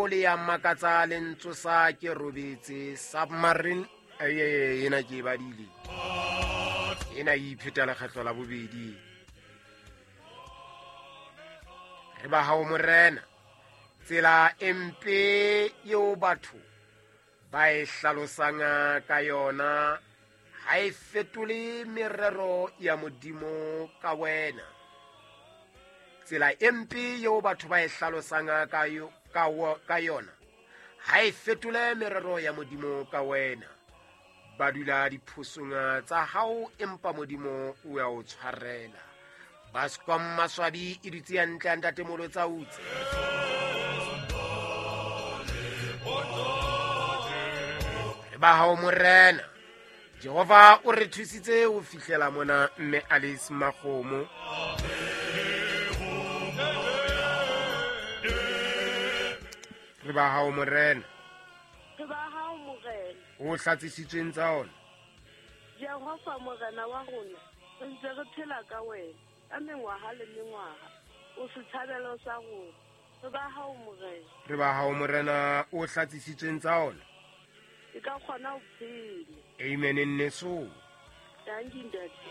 Hao le ya makatsa le ntsosa ke robetse. Submarine ena ke e badile, ena e ipheta lekgetlo la bobedi. Re ba hao Morena, tsela e mpe eo batho ba e hlalosang ka yona ha e fetole merero ya Modimo ka wena. Tsela e mpe eo batho ba e hlalosang ka yona ha e fetole merero ya Modimo ka wena. Ba dula diphosong tsa hao, empa Modimo o ya o tshwarela. Bascom Maswabi e dutse hantle ya ntate Molotsa utse. Re ba hao Morena. Jehova o re thusitse ho fihlela mona mme Alice Makgomo. Re ba hao Morena. Re ba hao Morena. O hlatsisitsweng tsa ona. Jehova Morena wa rona, re ntse re phela ka wena ka mengwaha le mengwaha. O setshabelo sa rona. Re ba hao Morena. Re ba hao Morena, o hlatsisitsweng tsa ona. E ka kgona ho phela. Amen nneso. Thank you, Ntate.